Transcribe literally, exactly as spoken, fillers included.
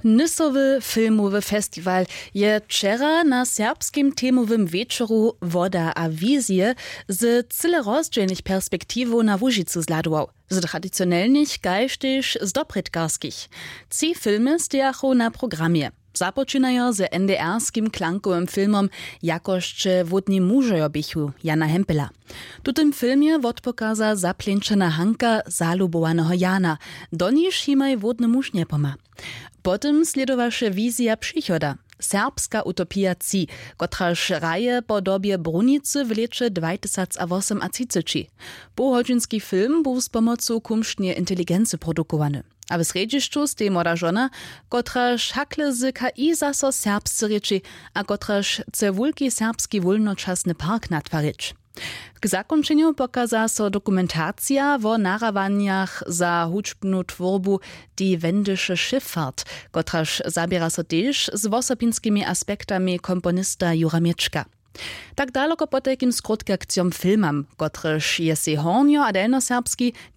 Nysowy filmowy festiwal je wčera na serbskim temowym wječoru Woda a wizije z cyle rozdźělnych perspektiwow na Łužicu zhladował, z tradicionelnych kaž tež z doprědkarskich. Tři filmy stejachu na programje. Započinajo z NDR-skim klankowym filmom Jakosće wódni mužojo běchu Jana Hempela. W tutym filmje wotpokaza zapleńčena Hanka zalubowaneho Jana, doniž jimaj wódny muž njepomha. Potom slědowaše wizija přichoda, serbska utopija tři, kotraž hraje po dobje brunicy w lěće dwajtysacwosomatřiceći. Połhodźinski film bu z pomocu kumšneje inteligency produkowany, a w srjedźišću stej młoda žona, kotraž hakle z ki zaso serbsce rěči, a kotraž chce wulki serbski wólnočasny park natwarić. K zakónčenju pokaza so dokumentacija wo nahrawanjach za hudźbnu twórbu Die wendische Schifffahrt, kotraž zaběra so tež z wosobinskimi aspektami komponista Jura Měčka. Tak daloko potajkim skrótkakcijom filmam, kotryž je sej hornjo a delnjoserbski